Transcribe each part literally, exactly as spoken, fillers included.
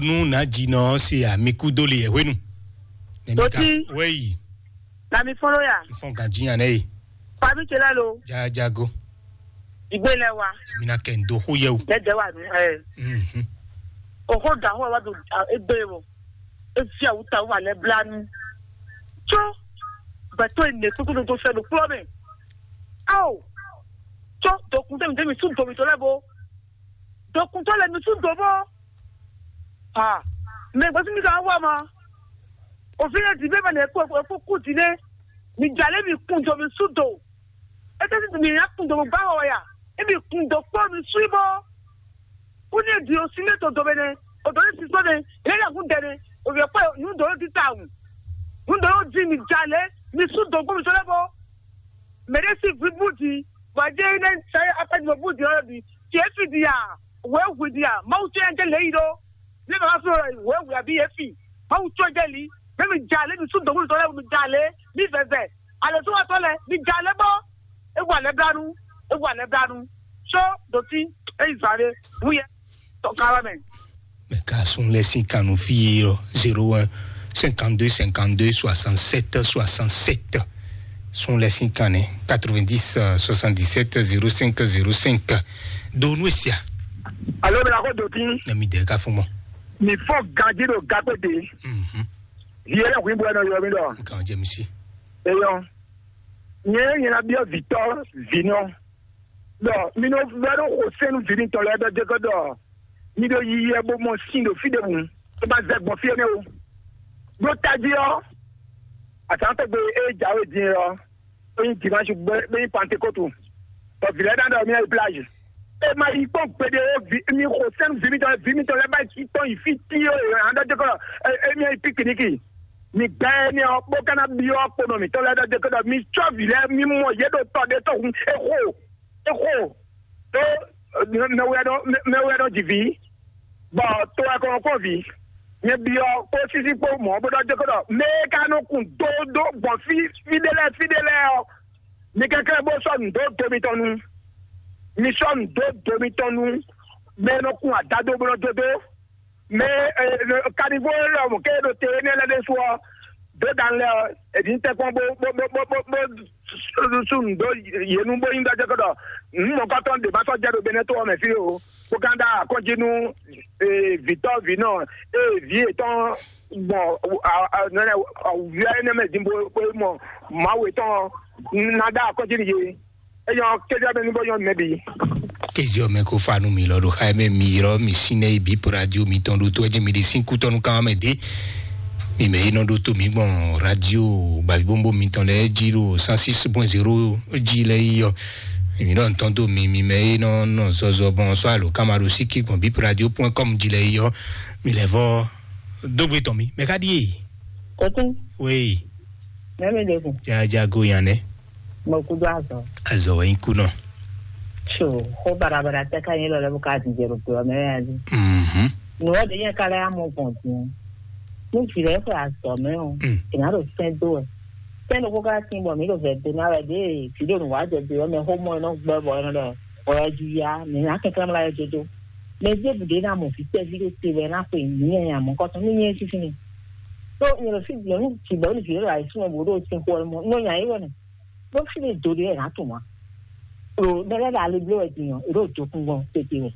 Nú nǎjínɔ ɔ́ se amikúdóli yɛhwenu. Nɛmí ka Dotí. Wɛyi. Nami fɔlɔ ya. Fɔn ganjí yan nɛ yi. Fami tse lɛ lo. Jajago. Igbe lɛ wa. Mina kɛ ndo xó yɛ o. Dɛdɛ wa nu ɛ. Mhm. Oxo da xó wa do egbe wo. Efi awuta wa lɛ blanu. Tso. Gbɛtɔ ene kúkú do fɛ do kplɔ mɛ. Awo. Tso dokun tɛ mi tɛ mi su domi to lɛ bo. Dokun to lɛ mi su do bo. Ah. Mɛ gbɛtɔ mi ka wa ma. Òfin yɛ di bɛ ma nɛ kó kó kú di nɛ. Mi jalè mi kun do mi su do. Ete si mi ya kun do mi ba wa ya. E mi kun do kpɔ mi su bo. Kúnú e ɖi osín nɛ to dɔbɛ nɛ, o dɔ ní sísɔ nɛ, yɛ yɛ kún dɛ nɛ, o yɛ kpɛ nu dɔ ní tita wù, nu dɔ ní di mi ja lɛ, mi sú dɔn gbɔmí sɔ lɛ bɔ mɛ ɖé sí vi bú di, bɔ a jɛ yi nɛ sa akpɛ di bɔ bú di ɔlɔ di, tiɛ fi di a, wɛ hu di a, mawu tɛ yɛ jɛ lɛ yi ɖɔ, ne ma ka fi wɛ hu abi yɛ fi, mawu tɛ jɛ li, mɛ mi ja lɛ, mi sú dɔn gbɔmí sɔ lɛ, mi ja lɛ, mi vɛvɛ, alɛ sɔ wa tɔ lɛ, mi ja lɛ bɔ, e wa lɛ blanu, e wa lɛ blanu, so doti, e yi zan ɖe, wu yɛ. Tɔkala mɛ. Mɛ ka sun lɛ sin kan nɔ fí yé ɔ zéro un cinquante-deux cinquante-deux soixante-sept soixante-sept. Sun lɛ sin kan nɛ quatre-vingt-dix soixante-dix-sept zéro cinq zéro cinq. Do nu esia. Alo bɛ la ko doti. Na mi dɛ ka fún mɔ. Mi fɔ ganji ɖo gakpé de. Mhm. Viɛ lɛ hu ibu ɛnɔ yɔ mi ɖɔ. Nkan jɛ mi si. Eyɔ. Nyɛ nyɛ na biɔ vitɔ vinɔ. Ɖɔ mi nɔ vɛ ɖo xo sɛnu vi mitɔn lɛ́ɛ ɖɔ jɛ kɔ ɖɔ mi ɖo yiyi wɛ bó mɔ sin ɖo fí ɖěbǔ, é ma zɛ gbɔn fí énɛ́ o. Ɖó tají ɔ́, azǎn tɔgbe e jǎwe din é ɔ́, é nyí dimanche bó nyí pantekótu, bɔ vǐ lɛ́ɛ ná ɖɔ mì nɔ yi plage. É ma yi kpɔ́n gbeɖé ó, mi xo sɛ́n vǐ mitɔn lɛ́ɛ, vǐ mitɔn lɛ́ɛ ba yi tɔn yi fí tíó è nǎ ɖɔ dó kɔ émí yi pikiniki. Mi gbɛ énɛ́ ɔ́, bó ka ná byɔ́ kponɔ mǐtɔn lɛ́ɛ ɖɔ dó kɔ ɖɔ mi cɔ́ vǐ lɛ́ɛ, mi mɔ yě ɖo tɔ ɖé tɔn hun é xo, é xo. Tó mɛwúyɛ́ nɔ mɛwúyɛ́ nɔ ji vǐ, bɔ to wɛ kɔn kɔn vǐ. Nyɛ byɔ́ kpó sísí kpó mɔ̌ bó ɖɔ dó kɔ ɖɔ mɛ e ka nɔ kun dó dó gbɔn fí fí ɖé lɛ́ɛ fí ɖé lɛ́ɛ ɔ́, mi kɛnklɛ́n bó sɔ́ nǔ dó do mitɔn nu. Mi sɔ́ nǔ dó do mitɔn nu. Mɛ e nɔ kun adado bó nɔ dó dó. Mɛ e, e, kanivo lɛ mɔ ké ɖo te énɛ́ lɛ́ɛ ɖésú ɔ́, dó dan lɛ ɔ́, è nǐ tɛ́nkpɔ́n bó bó bó bó bó bó sú nǔ dó yě nu bó nyí ɖɔ jɛ kɔ ɖɔ nǔ mɔ̌kɔtɔn ɖě ma sɔ́ jɛ ɖo Benɛ́to ɔ́ mɛ fí o. Bó ka ɖo akɔ́njí nú vǐtɔ́ vǐnɔ e vǐ yětɔn gbɔn awǔvia énɛ́ mɛ din bó bó mɔ Mawu yětɔn ná ɖó akɔ́jí nú yě. É nyɔ́ kéjɔ mɛ nú bó nyɔ́ nú mɛ bǐ. Kéjɔ mɛ ko fa nú mi lɔ ɖo xa mɛ mi ylɔ́ mi sín nɛ́ yi bǐ po radio mitɔn ɖo tó ɛ jí mi ɖi sín kútɔ́nú kan mɛ dé. Mi mɛ yi nɔ ɖó tó mi gbɔn radio gbavǐbombo mitɔn lɛ́ɛ jí ɖo cent six point zéro jí lɛ́ɛ yi ɔ. Mi ɖɔ ntɔn dó mi mi mɛ yi nɔ nɔ zɔzɔ gbɔn sɔ alo kama ɖo síkí gbɔn bíp radio point com jí lɛ́ɛ yi ɔ. Mi lɛ vɔ dógbe tɔn mi mɛ ká ɖíe. Kókó. Wéyi. Mɛ mi ɖe kun. Jajago yan nɛ. Mo kudo azɔ. Azɔ wɛ nyi kunɔ. So, xó barabara tɛ ka nyí lɔ lɛ bó ka dìde ɖo kplɔ mɛ ya dzi. Mhm. Nǔwɔ ɖe nyɛ ka lɛ amɔ gbɔn din. Ní vǐ lɛ xwe azɔ mɛ o. Mm. È nǎ ɖo sɛn dó wɛ. Sɛn ɖokpó ka tín bɔ mǐ ɖo vɛ do ná wɛ ɖě vǐ ɖo nǔ wá jɛ do ɔ́ mɛ xó mɔ ɛ nɔ gbɛ bɔ ɛ nɔ ɖɔ bɔ ɛ jí ya mǐ ná kɛnklɛ́n mla ɛ jojo. Mɛ zé bǔ ɖé ná mɔ vǐ tɛ́ví ɖé te wɛ ná xwe mǐ nyanya mɔ̌kɔtɔn ní nyɛ sísí ni. Ɖó nyɛ ɖo fí nyɔ̌nu jǐgbɔ́ ní vǐ ɖé ɖo ayǐsúnɔ bǔ ɖo sin xo ɛ mɔ nɔ nya é wɛ nɛ. Ɖó fí ɖé do ɖé wɛ nǎ tunwun ǎ. Ɖo mɛ lɛ́ɛ ɖo ali bló wɛ din ɔ́, è ɖo dǒkun gbɔn tete wɛ.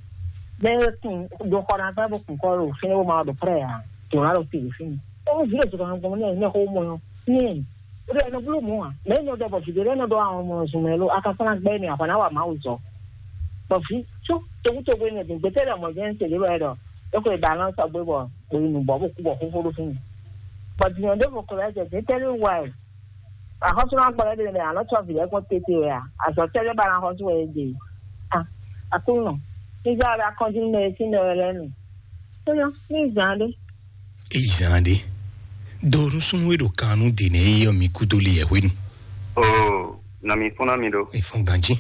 Mɛ e kun ɖo xɔ ná gbɛ́ bó kun kɔ ɖo fínɛ́ bó ma ɖo prɛ́ ǎ, dǒ ná ɖo te ɖo fínɛ́. Ó vǐ ɖo zɔ̌ kan gbɔn nɛ mɛ xó mɔ ɔ́, nyɛ ó ɖo ɛnɔ bló mɔ̌ ǎ. Mɛ énɛ́ ɖɔ bɔ vǐ ɖé lɛ́ɛ nɔ ɖɔ àwọn ọmọ zun mɛ lo, a ka kplá gbɛ́ nɛ a kɔ ná wa Mawu zɔ. Bɔ vǐ sú tokutoku énɛ́ din gbɛtɛ́ ɖɔ mɔ̌ jɛ́n se ɖé wɛ ɖɔ é xwe ba lɔn sɔgbe bɔ bɔ yi nǔ bɔ bó kú bɔ xóxó ɖó fínɛ́. Bɔ din ɔ́ ɖěvo ko lɛ́ jɛ dě tɛ́ lé wa ɛ. Axɔ́súnɔ gbɔdɔ ɖe mɛ alɔ tsɔ vǐ lɛ́ɛ kpɔ́n tete wɛ a? Azɔ tɛ́ lɛ́ ba ná xɔ́sú wɛ é ɖe? A, Aklúnɔ, ní zá wɛ akɔ́njú nú mɛ e sín mɛ wɛ lɛ́ɛ nu. Sɔ́yɔ, ní zǎn ɖé. Eyi zan ɖe. Do nusúnú e ɖo kan nú dǐn e yɔ mi kúdó li yɛ hwenu. Oo, nɔ mi fún ná mi ɖo. Mi fún ganjí.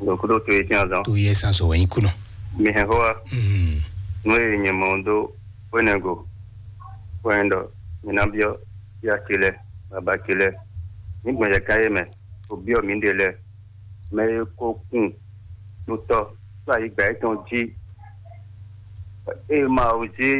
Ɖo kúdó to e tín azɔn. To yɛ san sɔ wɛ nyí kúnɔ. Mi hɛn xó wa. Mm. Nú e nyɛ mɔ dó wɛnɛgo wɛ ɖɔ mi ná byɔ́ yá ce lɛ́ɛ, baba ce lɛ́ɛ, ní gbɔn yɛ ká yé mɛ, bó byɔ́ mǐɖée lɛ́ɛ, mɛ e ko kun nutɔ́ ɖo ayǐgbǎ yětɔn jí, ée Mawu jí